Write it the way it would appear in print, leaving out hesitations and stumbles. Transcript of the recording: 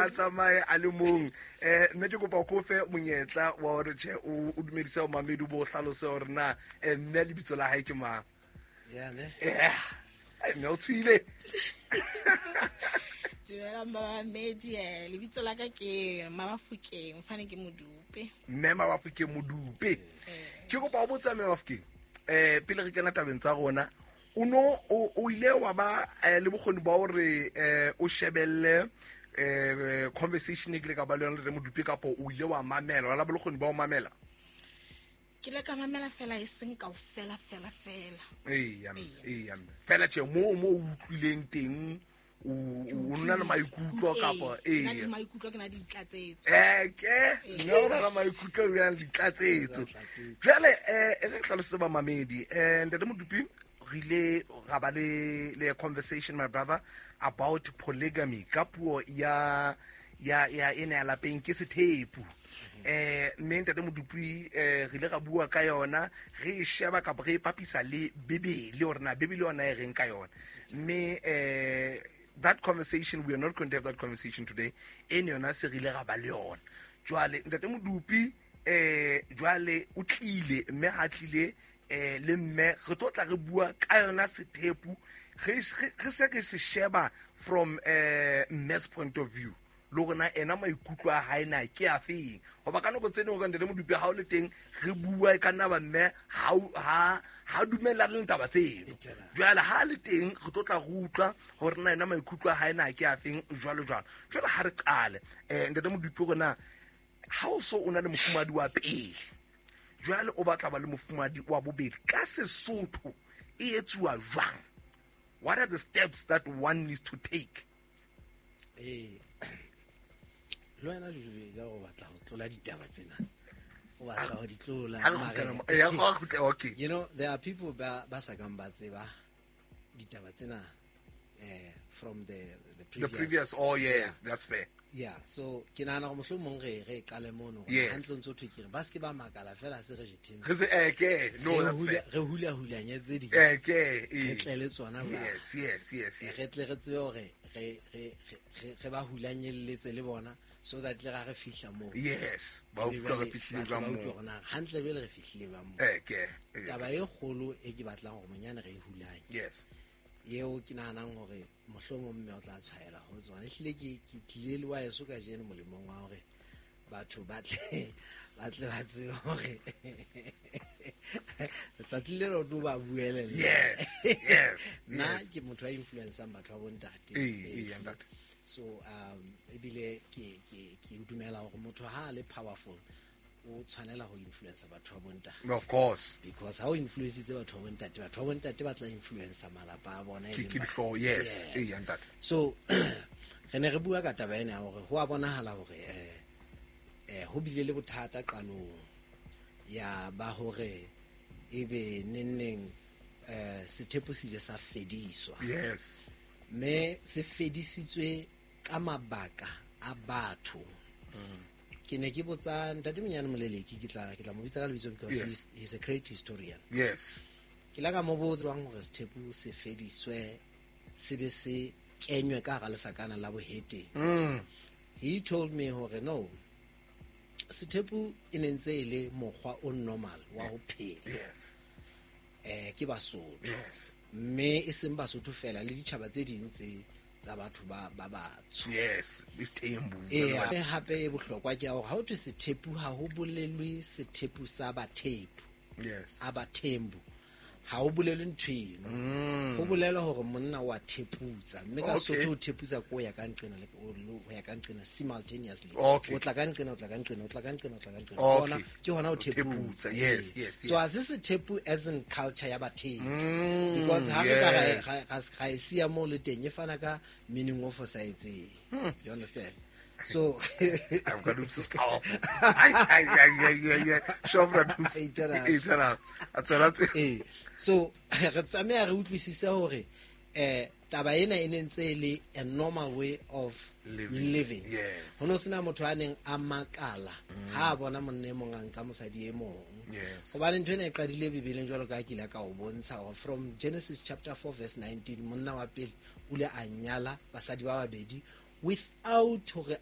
Ha tsamaye a le mong. Mme ke kopa ko fe monyetla wa hore tjhe o dumedise mamedi, bo hlalose hore na mme lebitso la hae ke mang. Yeah, ne? Yeah. Ai, mme o tswile. Dumelang babamedi, lebitso la ka ke Mabafokeng, mfane ke Modupe. Mme Mabafokeng Modupe. Ke kopa o botsa mme Mabafokeng, pele re kena tabeng tsa rona, o no o ile wa ba le bokgoni ba hore o shebelle conversation e kile ka ba le yona le Modupe, kapa o ile wa mamela, wa la ba le bokgoni ba ho mamela? Ke le ka mamela fela, e seng kaofela fela fela. Eya, eya. Fela tjhe, mo o utlwileng teng, o nna le maikutlo kapa ee? Ke na le maikutlo, ke na le ditlatsetso. Ke nna o na le maikutlo, o na le ditlatsetso. Jwale e re hlalosetse bamamedi, ntate Modupi, re ile ra ba le conversation, my brother, about polygamy ka puo ya ena ya lapeng ke sethepu. Mme ntate Modupi, re ile ra bua ka yona, re e sheba kapa re e papisa le Bibele, hore na Bibele yona e reng ka yona. Mme that conversation, we are not going to have that conversation today. E ne yona se re ile ra ba le yona. Jwale ntate Modupi, jwale o tlile, mme ha tlile le mme re tlo tla re bua ka yona sethepu, re se re se sheba from mme's point of view, le hore na ena maikutlo a hae na ke a feng. Hoba ka nako tse dingwe ka ntate Modupi, ha o le teng re bua, e ka nna ba mme ha dumellane le taba tseno. Jwale ha le teng re tlo tla re utlwa hore na ena maikutlo a hae na ke a feng, jwalo jwalo. Jwale ha re qale, ntate Modupi, hore na ha o so o na le mofumadi wa pele, jwale o batla ba le mofumadi wa bobedi, ka Sesotho e etsuwa jwang? What are the steps that one needs to take? Le wena Jojo, ka go batla ho tlola ditaba tsena, o batla ho di tlola. Ha re kgutlela ya, ha re kgutlela, okay. There are people ba sa kang ba tseba ditaba tsena from the The previous, oh yes, that's fair. Yeah, so ke nahana gore mohlomong re qale mono, gore hantle ntso thwe ke re ba se ke ba makala fela se re jetheng. Re se ke no, that's fair. Re hula hulanyetse di. Ke Re tle le tsona ba. Yes. Re tle re tsebe hore re ba hulanyelletse le bona, so that le ga re fihla moo. Yes, ba utlwa re fihlile jwang moo. Hore na hantle jwale re fihlile jwang moo. Ke. Taba e kgolo e ke batlang hore monyane re e hulanye. Yes. Eo ke nahanang hore mohlomong mme o tla tshwaela ho tsona. Ehlile ke tlile le wa heso kajeno molemong wa hore batho ba tle ba tsebe hore letsatsi le lo ba buelele. Nna ke motho a influencang batho ba bontate. Ee, ntate. So ebile ke dumela hore motho ha a le powerful o tshwanela ho influencer batho ba bontate. Of course. Because ha o influencitse batho ba bontate, batho ba bontate ba tla influencer malapa a bona e Ke leng ke dihlooho, yes. Yes. Ee, ntate. So re ne re bua ka taba ena ya hore ho a bonahala hore ho bile le bothata qalong ya ba hore ebe neng sethepu se ile sa fediswa. Yes. Mme se fedisitswe ka mabaka a batho. Ke ne ke botsa ntate Monyane Moleleki, ke tla mo bitsa ka lebitso because he's a great historian. Yes. Ke la ka mo botsa bang hore sethepu se fediswe se be se kenywe ka hara lesakana la boheteng. He told me hore no, sethepu e ne ntse e le mokgwa o normal wa ho phela. Yes. Ke Basotho. Yes. Mme e seng Basotho fela, le ditjhaba tse ding tse tsa batho ba batsho. Yes, isithembu. Ee, hape e bohlokwa ke ya hore ha ho thwe sethepu, ha ho bolelwe sethepu sa Bathepu. Yes. A Bathembu. Ha ho bolelwe ntho eno. Ho bolelwa hore monna wa theputsa, mme ka Sotho o theputsa ko ya ka nqena le ho ya ka nqena simultaneously. Okay. O tla ka nqena, o tla ka nqena, o tla ka nqena, o tla ka nqena. Okay. Hona ke hona o Theputsa. theputsa. Yes. So ha se sethepu as in culture ya Bathepu. Because ha re ka ra e siya moo le teng, e fana ka meaning o fosahetseng. You understand? So I've got this powerful. Ai ai ai ai ai ai. Shobra dus. E itela. E itela. A tswela pele. Ee. So re tlameha re utlwisise hore taba ena e ne ntse e le a normal way of Living. living. Yes. Ho no sena motho a neng a makala ha a bona monna e mong a nka mosadi e mong. Yes. Hobane ntho ena e qadile Bibeleng, jwalo ka ha ke ile ka o bontsha hore from Genesis chapter 4 verse 19, monna wa pele o ile a nyala basadi ba babedi without hore